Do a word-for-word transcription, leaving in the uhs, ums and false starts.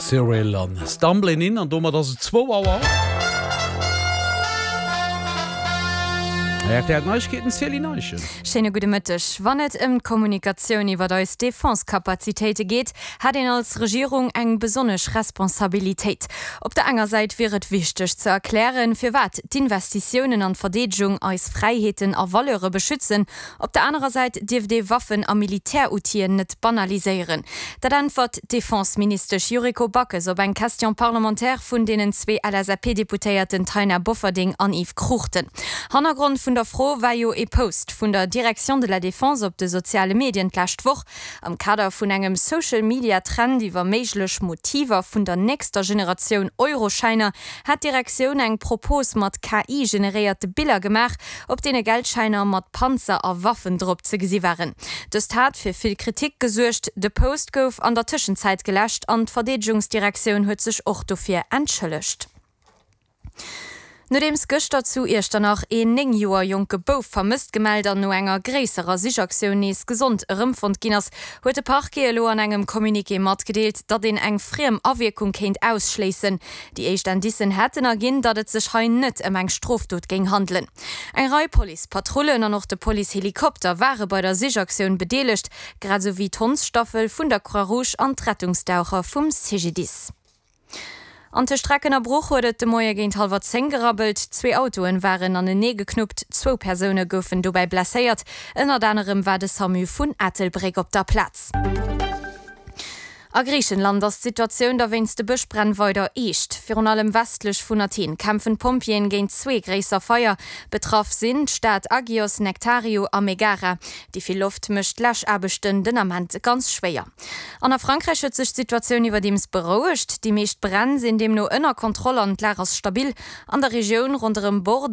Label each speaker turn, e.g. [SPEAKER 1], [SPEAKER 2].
[SPEAKER 1] Cyril an Stumbling In an domat ass et zwou Auer. R T L Neiegkeeten, Céline Eischen.
[SPEAKER 2] Schéine gudde Mëtteg. Wann et ëm d'Kommunikatioun iwwer eis Defense-Kapazitéite geet, hätt een als Regierung eng besonnesch Responsabilitéit. Op der enger Säit wier et wichteg ze erklären, firwat d'Investitiounen an d'Verdeedegung eis Fräiheeten a Valeure beschützen, op der anerer Säit dierft ee Waffen a Militäroutilen net banaliséieren. Dat äntwert d'Defense-Ministesch Yuriko Backes op eng Question parlementaire vun deenen zwee L S A P-Deputéierten Taina Bofferding an Yves Cruchten. Hannergrond vun der Fro war jo e Post vun der Direction de la Défense op de soziale Medien d'lescht Woch. Am Kader vun engem Social-Media-Trend iwwer méiglech Motiver vun der nächster Generatioun Euroschäiner hat d'Direktioun eng Propos mat K I-generéierte Biller gemaach, op deene Geldschäiner mat Panzer a Waffen drop ze gesi waren. Dëst hat fir vill Kritik gesuergt. De Post gouf an der Tëschenzäit geläscht an d'Verdeedegungsdirektioun huet sech och dofir entschëllegt. Nodeems gëschter zu Iechternach een néng Joer jonke Bouf vermësst gemellt an no enger gréisserer Sichaktioun nees gesond erëmfonnt ginn ass, huet de Parquet elo an engem Communiqué matgedeelt, datt een eng friem Awierkung kéint ausschléissen. Déi éischt Indicen hätten erginn, datt et sech hei net ëm eng Strofdot géing handelen. Eng Rei Policepatrullen an och de Policehelikopter ware bei der Sichaktioun bedeelegt, grad esou wéi d'Hondsstaffel vun der Croix-Rouge an d'Rettungsdaucher vum C G D I S. An tëscht Recken a Bruch huet et de Moie géint hallwer zéng gerabbelt. Zwee Autoen waren anenee geknuppt, zwou Persoune goufen dobäi blesséiert. Ënnert anerem war de SAMU vun Ettelbréck op der Plaz. A Griichenland ass d'Situatioun da wéinst de Bëschbränn weider eescht. Virun allem westlech vun Athen kämpfen d'Pompjeeën géint zwee gréisser Feier. Betraff sinn d'Stad Agios Nektariou a Megara. Déi vill Loft mécht d'Läschaarbechten den Ament ganz schwéier. An a Frankräich huet sech d'Situatioun iwwerdeems berouegt. Déi meescht Bränn sinn deemno ënner Kontroll an d'Lag ass stabil. An der Regioun ronderëm Bordeaux